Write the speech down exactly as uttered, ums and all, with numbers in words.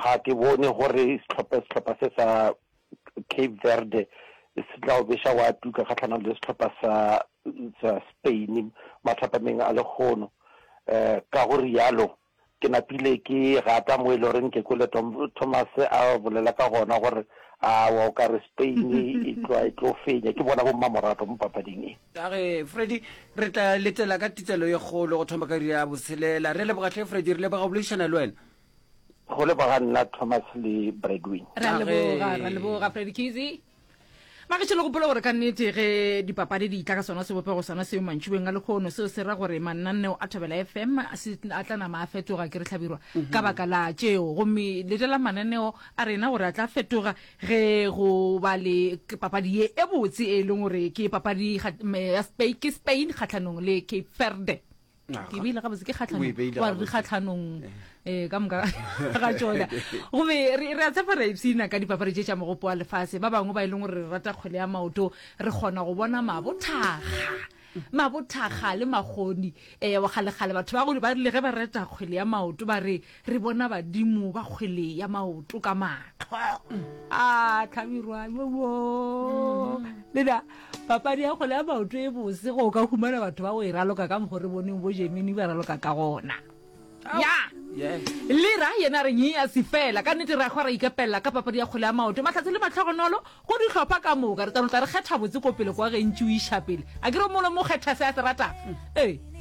Ga ke bone gore sehlopha sehlopha se sa Cape Verde se tla o beša wa tuka kgahlanong le sehlopha sa sa Spain mathapameng a lekgono. Um ka go rialo ke napile ke gata mo e le goreng ke kwele Tom, Thomas a bolela ka gona gore awa o ka re Spain e tlo e tlo fenya. Ke bona bommamorato mo papading e. A ge Freddy, re tla letela ka titselo ye kgolo go thoma ka iri ya botshelela. Re leboga hle Freddy, re leboga go boledišana le wena. Go leboga nna Thomas le Bradwin. Re a leboga, ra leboga Freddy Kizzy. Magešo le gopola gore ka nnete ge dipapadi di tla ka sona sebopego sona seo mantšibeng a lekgono, seo se ra gore mananeo a Thobela F M a se a tla nama a fetoga ke re hlabirwa ka baka la tšeo. Gomme letela mananeo a rena gore a tla fetoga ge go ba le papadi ye e botse e leng gore ke papadi ya Spain, ke Spain kgahlanong le Cape Verde. Ke beile gabotse, ke kgahlanong, O e beile wa re gabotse. kgahlanong, eh, ka moka ga tšona. Gomme re, re a tshepa re a ipshina ka dipapadi tše tša mogopo wa lefase. Ba bangwe ba e leng gore re rata kgwele ya maoto, re kgona go bona mabothaga, mabothaga le makgoni. Eh, wa kgalekgale batho ba go ba rile ge ba reta kgwele ya maoto ba re re bona badimo ba kgwele ya maoto ka mahlo. A tlhabirwa, yo, yo. Lena, papadi ya kgwele ya maoto e bose go ka humana batho ba go e raloka ka mokgwa re boneng bo Germany ba raloka ka gona. Ya. Yeah. Lera yena re nyea se fela. Ka nnete re a hwa ra ikepella ka papadi ya kgwele ya maoto. Mahlatse le mahlogonolo go dihlopha ka moka. Re tla no tla re kgetha botse ko pele kwa ge ntši o iša pele. A ke re mongwe le mongwe o kgetha se a se ratang. Ee.